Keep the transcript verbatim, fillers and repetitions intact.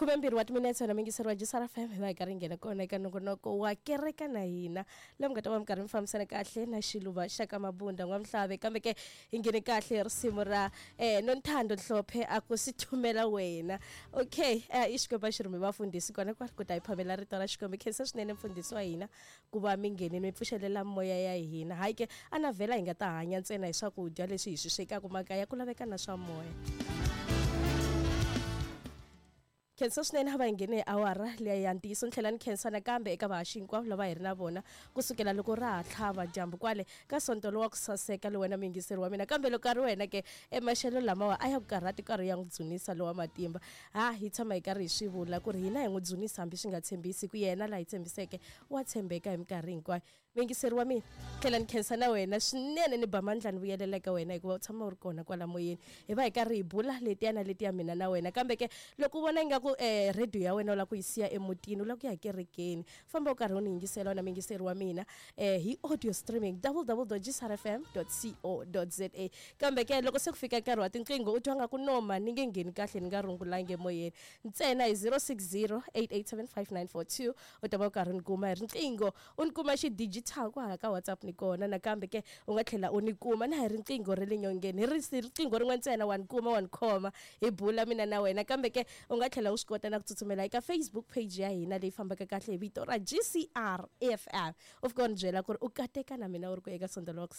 Khumembirhi wa timinetse na mingiseri wa G S R F M hi va hi karhi nghena kona eka nongonoko wa kereka na hina laha mi nga ta va mi karhi mi fambisana kahle na Xiluva xa ka Mabunda N'wamhlave. Kambe ke hi nghene kahle risimu ra eh Nonthando Hlophe a ku si thumela wena. Okay, eh i Xikwembu a xi rhume vafundhisi kona kwale ku ta hi phamela rito ra Xikwembu. Khensa swinene mfundhisi wa hina ku va mi nghenini mi pfuxelela moya ya hina. Hayi ke a na vhela hi nga ta hanya ntsena hi swakudya leswi hi swi swekaka makaya, ku laveka na swa moya. Khensa swinene a va hi nghene hi awara liya ya ntiyiso. Ni tlhela ni khensa nakambe eka vahaxi hinkwavo lava hi ri na vona kusukela loko ra ha tlhava dyambu kwale ka sonto lowa ku saseka lowu wena muyingiseri wa mina. Kambe loko a ri wena ke emaxelo lamawa a ya ku karhati karhi ya n'wi dzunisa lowa matimba. Ha hi tshama hi karhi hi swi vula ku ri hina hi n'wi dzunisa hambi swi nga tshembisi ku yena laha hi tshembiseke wa tshembeka hi minkarhi hinkwayo. Muyingiseri wa mina, tlhela ni khensa na wena swinene, ni ba mandla ni vuyelela eka wena hikuva u tshama u ri kona kwala moyeni. Hi va hi karhi hi bula letiya na letiya mina na wena. Kambe ke loko u vona ingaku eh radio ya wena u lava ku yi siya emutini, u lava ku ya kerekeni, famba u karhi u ni yingisela wena muyingiseri wa mina eh hi audio streaming w w w dot g s r f m dot co dot z a. Kambe ke loko se ku fika nkarhi wa tinqingho u twa nga ku noma ni nge ngheni kahle ni nga rungulangi emoyeni, ntsena hi zero six zero eight eight seven five nine four two u ta va u karhi u ni kuma hi riqingho, u ni kuma xidigital kwahala ka WhatsApp ni kona. Nakambe ke u nga tlhela u ni kuma na hi riqingho ra le nyongeni, hi riqingho rin'we ntsena wa ni kuma wa ni khoma hi bula mina na wena. Kambe ke u nga tlhela u swi kota na ku tsutsumela eka Facebook page ya hina leyi fambaka kahle hi vito ra G C R F M, u fika u ni byela ku ri u kateka na mina u ri ku eka sonto lowa ku